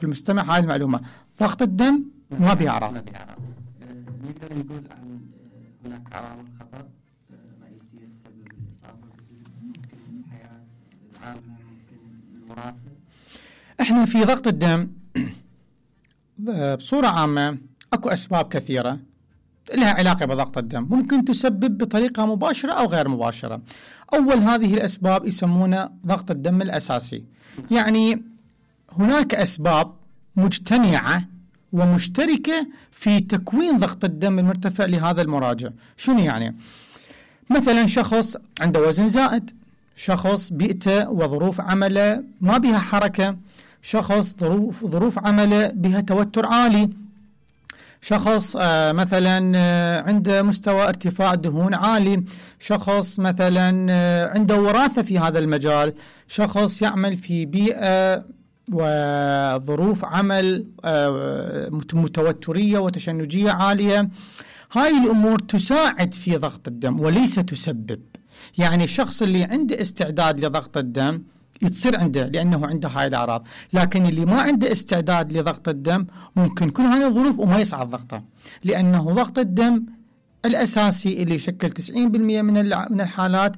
في المستمع هاي المعلومة. ضغط الدم ما بها أعراض. نقدر نقول عن هناك عوامل خطر رئيسية تسبب الإصابة ممكن الحياة العامة، ممكن الوراثة. احنا في ضغط الدم بصورة عامة اكو اسباب كثيرة لها علاقة بضغط الدم، ممكن تسبب بطريقة مباشرة او غير مباشرة. اول هذه الاسباب يسمونها ضغط الدم الاساسي، يعني هناك اسباب مجتمعة ومشتركة في تكوين ضغط الدم المرتفع لهذا المراجع. شنو يعني؟ مثلا شخص عنده وزن زائد، شخص بيئته وظروف عمله ما بها حركة، شخص ظروف عمله بها توتر عالي، شخص مثلا عنده مستوى ارتفاع دهون عالي، شخص مثلا عنده وراثة في هذا المجال، شخص يعمل في بيئة وظروف عمل متوترية وتشنجية عالية. هاي الأمور تساعد في ضغط الدم وليس تسبب. يعني الشخص اللي عنده استعداد لضغط الدم يتصير عنده لأنه عنده هاي الأعراض، لكن اللي ما عنده استعداد لضغط الدم ممكن كل هاي الظروف وما يصعد ضغطه، لأنه ضغط الدم الأساسي اللي يشكل 90% من الحالات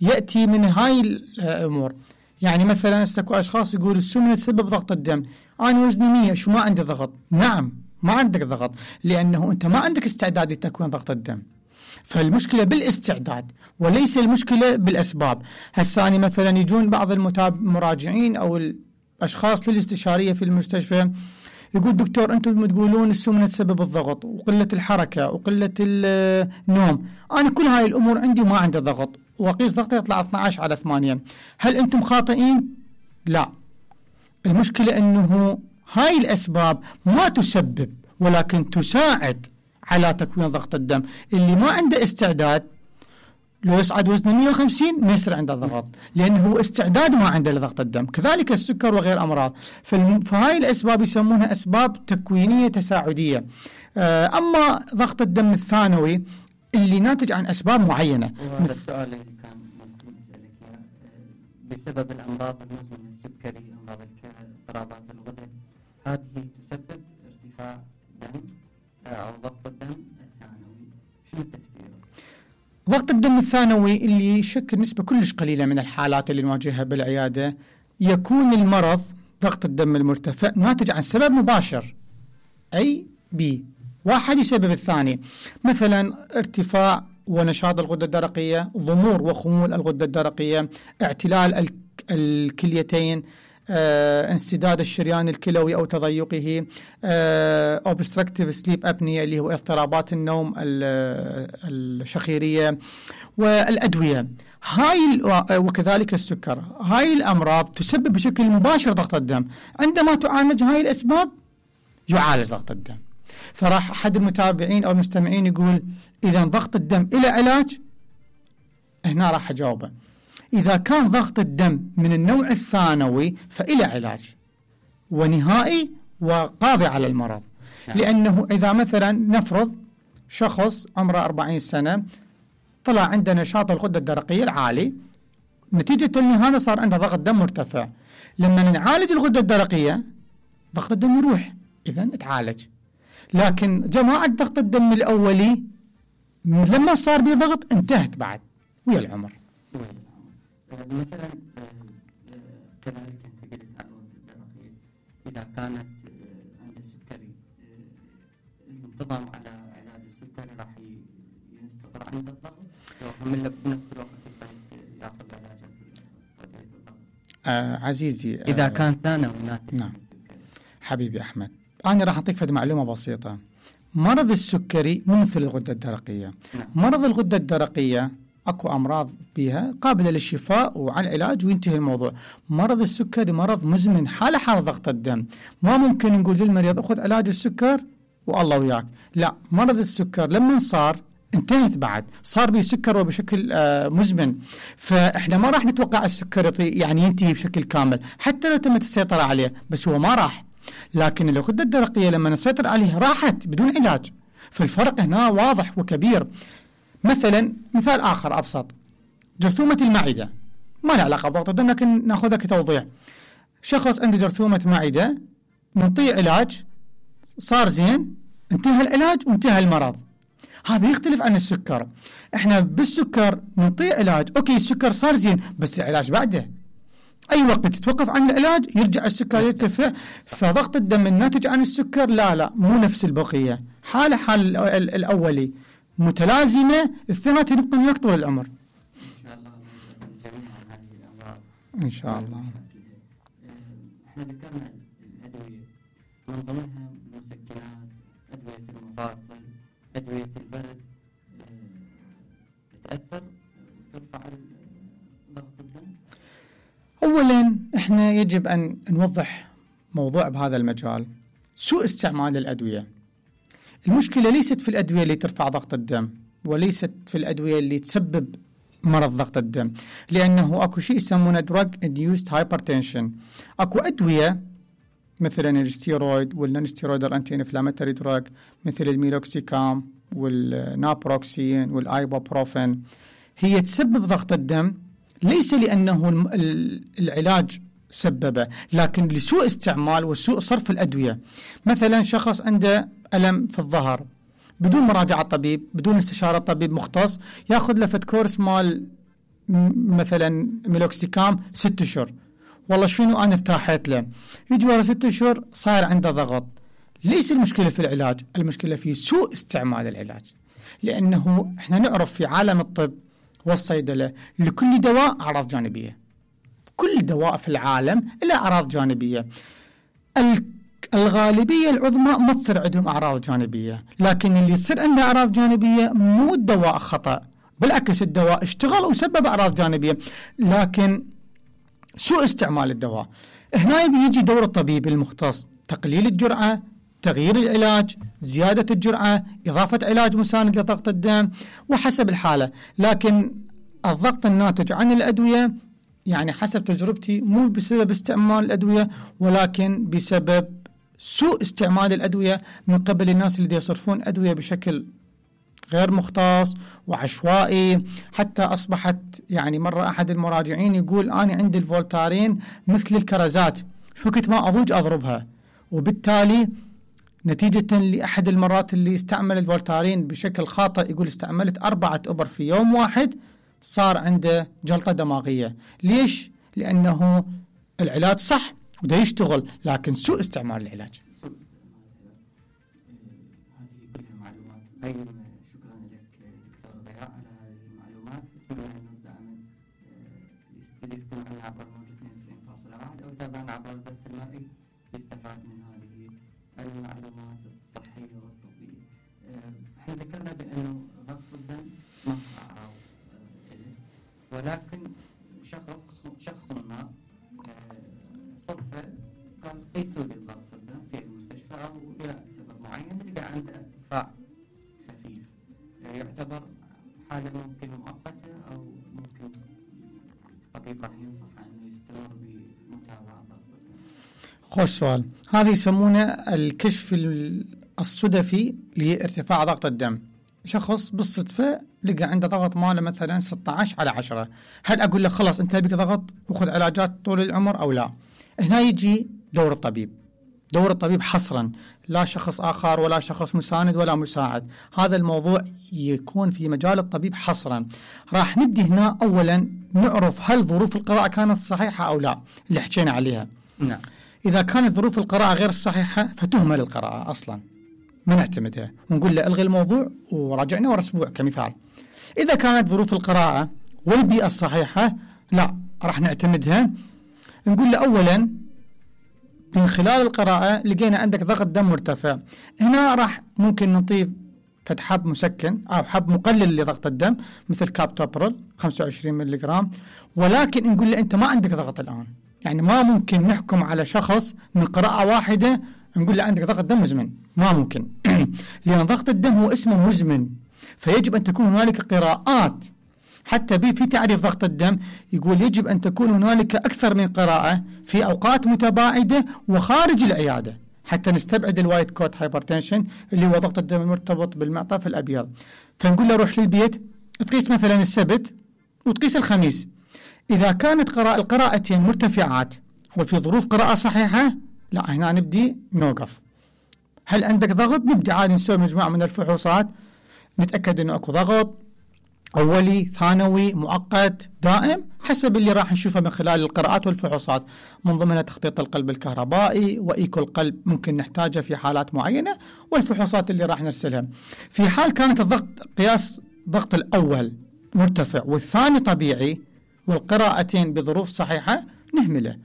يأتي من هاي الأمور. يعني مثلا استكو أشخاص يقول السمنة تسبب ضغط الدم، أنا وزني 100 شو ما عندي ضغط. نعم ما عندك ضغط، لأنه أنت ما عندك استعداد لتكوين ضغط الدم. فالمشكلة بالاستعداد وليس المشكلة بالأسباب. هساني مثلا يجون بعض المراجعين أو الأشخاص للاستشارية في المستشفى يقول دكتور أنتم تقولون السمنة تسبب الضغط وقلة الحركة وقلة النوم، أنا كل هاي الأمور عندي وما عندي ضغط وقيس ضغطي يطلع 12/8. هل أنتم خاطئين؟ لا، المشكلة أنه هاي الأسباب ما تسبب ولكن تساعد على تكوين ضغط الدم. اللي ما عنده استعداد لو يصعد وزنه 150 ما يصير عنده ضغط، لأنه هو استعداد ما عنده لضغط الدم. كذلك السكر وغير أمراض. فهاي الأسباب يسمونها أسباب تكوينية تساعدية. أما ضغط الدم الثانوي اللي ناتج عن أسباب معينة. وهذا السؤال اللي كان ممكن أسألك بسبب الأمراض المزمنة السكري، أمراض الكلى، اضطرابات الغدد، هذه تسبب ارتفاع دم أو ضغط الدم الثانوي، شنو التفسير؟ ضغط الدم الثانوي اللي يشكل نسبة كلش قليلة من الحالات اللي نواجهها بالعيادة، يكون المرض ضغط الدم المرتفع ناتج عن سبب مباشر أي بي واحد يسبب الثاني. مثلا ارتفاع ونشاط الغدة الدرقية، ضمور وخمول الغدة الدرقية، اعتلال الكليتين، انسداد الشريان الكلوي أو تضيقه، obstructive sleep apnea اللي هو اضطرابات النوم الشخيرية، والأدوية وكذلك السكر. هاي الأمراض تسبب بشكل مباشر ضغط الدم. عندما تعالج هاي الأسباب يعالج ضغط الدم. فراح أحد المتابعين أو المستمعين يقول إذا ضغط الدم إلى علاج؟ هنا راح أجاوبه إذا كان ضغط الدم من النوع الثانوي فإلى علاج ونهائي وقاضي على المرض. لأنه إذا مثلا نفرض شخص عمره 40 سنة طلع عنده نشاط الغدة الدرقية العالي، نتيجة لهذا صار عنده ضغط دم مرتفع. لما نعالج الغدة الدرقية ضغط الدم يروح، إذن اتعالج. لكن جماعة ضغط الدم الأولي لما صار به ضغط انتهت بعد ويا العمر. مثلا كذلك انت قلت عن الغدة الدرقية، إذا كانت عند السكري الانتظام على علاج السكري راح يستقر عند الضغط، وهم بنفس الوقت ياخذ علاجه في الضغط. عزيزي إذا كان ثانوي ناتج. نعم حبيبي أحمد، أنا راح أعطيك معلومة بسيطة. مرض السكري مو مثل الغدة الدرقية. مرض الغدة الدرقية أكو أمراض بها قابلة للشفاء وعن علاج وينتهي الموضوع. مرض السكري مرض مزمن، حالة ضغط الدم. ما ممكن نقول للمريض أخذ علاج السكر والله وياك، لا، مرض السكر لما صار انتهت بعد، صار به سكر وبشكل مزمن. فإحنا ما راح نتوقع السكر يعني ينتهي بشكل كامل حتى لو تمت السيطرة عليه، بس هو ما راح. لكن الغدة الدرقية لما نسيطر عليها راحت بدون علاج. فالفرق هنا واضح وكبير. مثلا مثال آخر أبسط، جرثومة المعدة ما له علاقة بضغط الدم لكن ناخذها كتوضيح. شخص عنده جرثومة معدة نعطيه علاج صار زين، انتهى العلاج وانتهى المرض. هذا يختلف عن السكر. احنا بالسكر نعطيه علاج، اوكي السكر صار زين بس العلاج بعده، اي وقت تتوقف عن العلاج يرجع السكر يرتفع. فضغط الدم الناتج عن السكر لا مو نفس البقيه، حال الاولي متلازمه، الاثنين يبقون وياك طول العمر ان شاء الله. احنا ذكرنا الادويه من ضمنها المسكنات، ادويه المفاصل، ادويه البرد، تاثر وترفع ضغط الدم. اولا احنا يجب ان نوضح موضوع بهذا المجال، سوء استعمال الادويه. المشكله ليست في الادويه اللي ترفع ضغط الدم، وليست في الادويه اللي تسبب مرض ضغط الدم، لأنه أكو شيء يسمونه drug induced hypertension. أكو أدوية مثلا الستيرويد والنونستيرويدال أنتي إنفلاماتوري دراج مثل الميلوكسيكام والنابروكسين والآيبوبروفين، هي تسبب ضغط الدم ليس لأنه العلاج سببه، لكن لسوء استعمال وسوء صرف الأدوية. مثلا شخص عنده ألم في الظهر بدون مراجعة طبيب، بدون استشارة طبيب مختص، ياخذ له فد كورس مال مثلا ميلوكسيكام 6 أشهر، والله شنو أنا ارتاحت له، يجي ورا 6 أشهر صاير عنده ضغط. ليس المشكلة في العلاج، المشكلة في سوء استعمال العلاج. لأنه احنا نعرف في عالم الطب والصيدلة لكل دواء أعراض جانبية، كل دواء في العالم له أعراض جانبية. الغالبية العظمى ما تصير عندهم أعراض جانبية، لكن اللي يصير عنده أعراض جانبية مو الدواء خطأ، بالعكس الدواء اشتغل وسبب أعراض جانبية، لكن سوء استعمال الدواء. هنا يجي دور الطبيب المختص، تقليل الجرعة، تغيير العلاج، زيادة الجرعة، إضافة علاج مساند لضغط الدم وحسب الحالة. لكن الضغط الناتج عن الأدوية يعني حسب تجربتي مو بسبب استعمال الأدوية، ولكن بسبب سوء استعمال الأدوية من قبل الناس اللي يصرفون أدوية بشكل غير مختص وعشوائي. حتى أصبحت يعني مرة أحد المراجعين يقول أنا عندي الفولتارين مثل الكرزات، شو وقت ما أضوج أضربها، وبالتالي نتيجة لأحد المرات اللي استعمل الفولتارين بشكل خاطئ، يقول استعملت 4 إبر في يوم واحد، صار عنده جلطة دماغية. ليش؟ لأنه العلاج صح وده يشتغل، لكن سوء استعمال العلاج. هذه كلها معلومات قيمة، شكرا لك دكتور ضياء على هذه المعلومات. كلنا نبدأ من اللي يستمع لنا عبر موجة 92.1 أو يتابعنا عبر البث المرئي يستفاد من هذه المعلومات الصحية والطبية. احنا ذكرنا بأنه ضغط الدم ما أعراض له، ولكن شخص ما صدفة قال قيسوا لي ضغط الدم في المستشفى أو لسبب معين لقى عنده ارتفاع خفيف، يعتبر حالة ممكن مؤقتة أو ممكن الطبيب راح ينصح أنه يستمر بمتابعة ضغط الدم؟ خوش سؤال. هذا يسمونه الكشف الصدفي لارتفاع ضغط الدم. شخص بالصدفة لقى عنده ضغط ماله مثلا 16/10، هل أقول له خلاص أنت بك ضغط وخذ علاجات طول العمر أو لا؟ هنا يجي دور الطبيب، دور الطبيب حصرا، لا شخص آخر ولا شخص مساند ولا مساعد. هذا الموضوع يكون في مجال الطبيب حصرا. راح نبدي هنا أولا نعرف هل ظروف القراءة كانت صحيحة أو لا اللي حكينا عليها. نعم. إذا كانت ظروف القراءة غير صحيحة فتهمل القراءة أصلا، ما نعتمدها ونقول له ألغي الموضوع وراجعنا ورا أسبوع كمثال. إذا كانت ظروف القراءة والبيئة الصحيحة لا راح نعتمدها. نقول له أولا من خلال القراءة لقينا عندك ضغط دم مرتفع، هنا راح ممكن نضيف حب مسكن أو حب مقلل لضغط الدم مثل كابتوبرول 25 ملغ، ولكن نقول له أنت ما عندك ضغط الآن. يعني ما ممكن نحكم على شخص من قراءة واحدة نقول له عندك ضغط دم مزمن، ما ممكن لأن ضغط الدم هو اسمه مزمن، فيجب أن تكون هنالك قراءات. حتى في تعريف ضغط الدم يقول يجب أن تكون هنالك أكثر من قراءة في أوقات متباعدة وخارج العيادة حتى نستبعد الوايت كوت هايبرتنشن اللي هو ضغط الدم المرتبط بالمعطف الأبيض. فنقول له روح للبيت تقيس مثلا السبت وتقيس الخميس، إذا كانت القراءتين مرتفعات وفي ظروف قراءة صحيحة لا هنا نبدي نوقف. هل عندك ضغط؟ نبدي عادي نسوي مجموعة من الفحوصات نتأكد انه اكو ضغط اولي ثانوي مؤقت دائم حسب اللي راح نشوفه من خلال القراءات والفحوصات، من ضمنها تخطيط القلب الكهربائي وايكو القلب ممكن نحتاجه في حالات معينة، والفحوصات اللي راح نرسلها. في حال كانت الضغط قياس ضغط الاول مرتفع والثاني طبيعي والقراءتين بظروف صحيحة نهمله،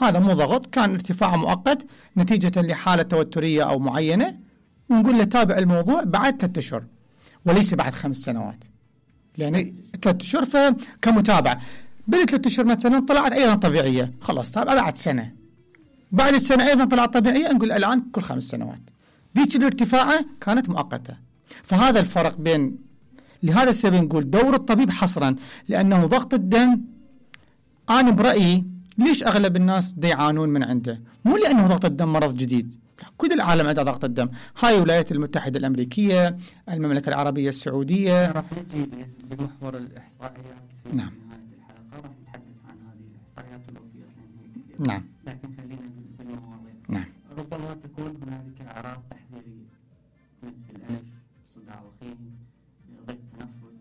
هذا مو ضغط، كان ارتفاع مؤقت نتيجة لحالة توترية أو معينة، ونقول له تابع الموضوع بعد 3 أشهر وليس بعد 5 سنوات، لأن 3 أشهر كمتابعة. بال3 أشهر مثلا طلعت أيضا طبيعية، خلاص تابع بعد سنة، بعد السنة أيضا طلعت طبيعية، نقول الآن كل 5 سنوات. ذيك الارتفاعة كانت مؤقتة. فهذا الفرق بين، لهذا السبب نقول دور الطبيب حصرا، لأنه ضغط الدم أنا برأيي ليش أغلب الناس يعانون من عنده؟ مو لأنه ضغط الدم مرض جديد، كل العالم عنده ضغط الدم، هاي الولايات المتحدة الأمريكية، المملكة العربية السعودية. راح نجي بمحور الإحصائيات في نعم. نهاية الحلقة، راح نتحدث عن هذه الإحصائيات والوفيات لأنها نعم. لكن خلينا بالمواضيع. نعم. ربما تكون هنالك أعراض تحذيرية، نزف الأنف، صداع وخيم، ضيق تنفس،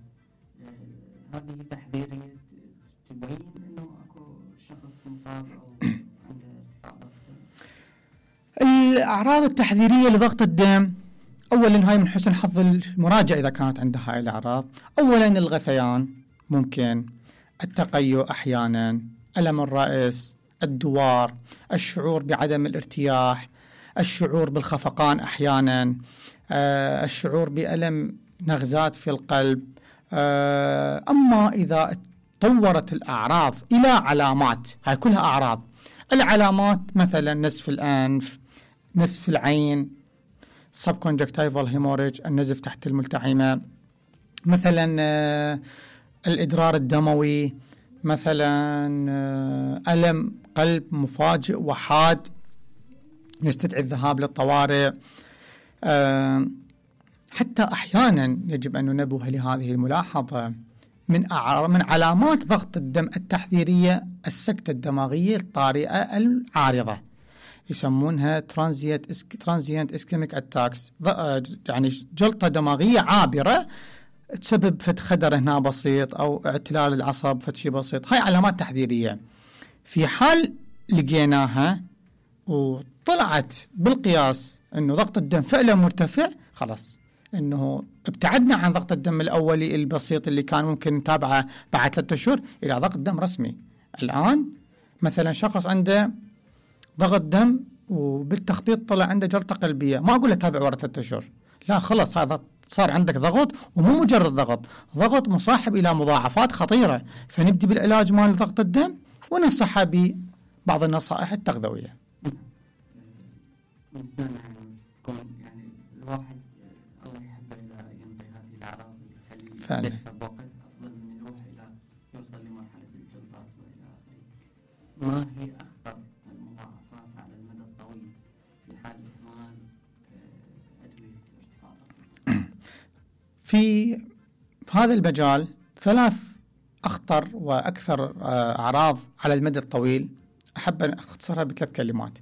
هذه تحذيرية تبين انه اكو شخص مصاب او عنده ارتفاع ضغط. الأعراض التحذيرية لضغط الدم، أولا هاي من حسن حظ المراجع إذا كانت عنده هاي الأعراض، أولا الغثيان، ممكن التقيؤ أحيانا، ألم الرأس، الدوار، الشعور بعدم الارتياح، الشعور بالخفقان أحيانا، الشعور بألم نغزات في القلب. أما إذا طورت الأعراض إلى علامات، هاي كلها أعراض، العلامات مثلا نزف الأنف، نزف العين، subconjunctival hemorrhage، النزف تحت الملتحمة، مثلا الإدرار الدموي، مثلا ألم قلب مفاجئ وحاد يستدعي الذهاب للطوارئ. حتى أحيانا يجب أن ننبه لهذه الملاحظة، من علامات ضغط الدم التحذيرية السكتة الدماغية الطارئة العارضة، يسمونها transient ischemic attacks، يعني جلطة دماغية عابرة تسبب فد خدر هنا بسيط أو اعتلال العصب فد شيء بسيط، هاي علامات تحذيرية. في حال لقيناها وطلعت بالقياس أنه ضغط الدم فعلا مرتفع، خلاص أنه ابتعدنا عن ضغط الدم الأولي البسيط اللي كان ممكن نتابعه بعد 3 أشهر إلى ضغط دم رسمي. الآن مثلا شخص عنده ضغط دم وبالتخطيط طلع عنده جلطة قلبية، ما أقول له تابع ورا 3 أشهر، لا خلص هذا صار عندك ضغط، ومو مجرد ضغط مصاحب إلى مضاعفات خطيرة، فنبدي بالعلاج مال ضغط الدم وننصحه ببعض النصائح التغذوية. تكون يعني الواحد الله يحبه إذا ينطي هذه الأعراض اللي فعلا يدفع بوقت أفضل من يروح إلى يوصل لمرحلة الجلطات وإلى آخره. ما هي أخطر المضاعفات على المدى الطويل في حال إهمال أدوية ارتفاع الضغط؟ في هذا المجال 3 أخطر وأكثر أعراض على المدى الطويل، أحب أن أختصرها ب3 كلمات.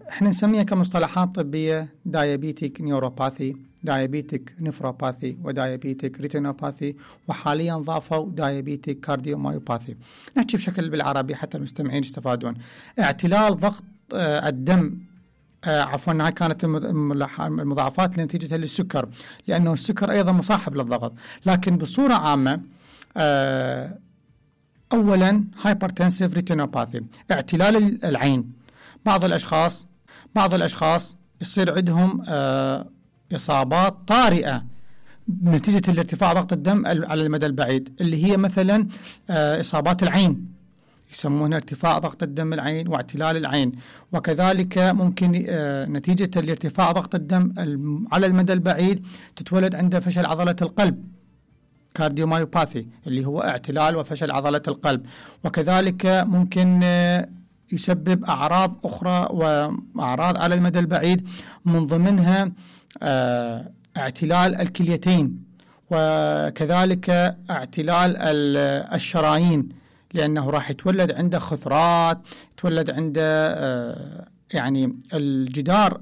احنا نسميها كمصطلحات طبية diabetic neuropathy، diabetic nephropathy، وديابيتك retinopathy، وحاليا ضافوا diabetic cardiomyopathy. نحكي بشكل بالعربي حتى المستمعين يستفادون. اعتلال ضغط الدم، عفوا هاي كانت المضاعفات لنتيجة للسكر، لأنه السكر أيضا مصاحب للضغط، لكن بصورة عامة أولا hypertensive retinopathy، اعتلال العين. بعض الأشخاص يصير عندهم إصابات طارئة نتيجة الارتفاع ضغط الدم على المدى البعيد، اللي هي مثلا إصابات العين، يسمونها ارتفاع ضغط الدم العين واعتلال العين. وكذلك ممكن نتيجة لارتفاع ضغط الدم على المدى البعيد تتولد عنده فشل عضلة القلب، كارديومايوباثي، اللي هو اعتلال وفشل عضلة القلب. وكذلك ممكن يسبب أعراض أخرى وأعراض على المدى البعيد، من ضمنها اعتلال الكليتين، وكذلك اعتلال الشرايين، لأنه راح يتولد عنده خثرات، يتولد عنده يعني الجدار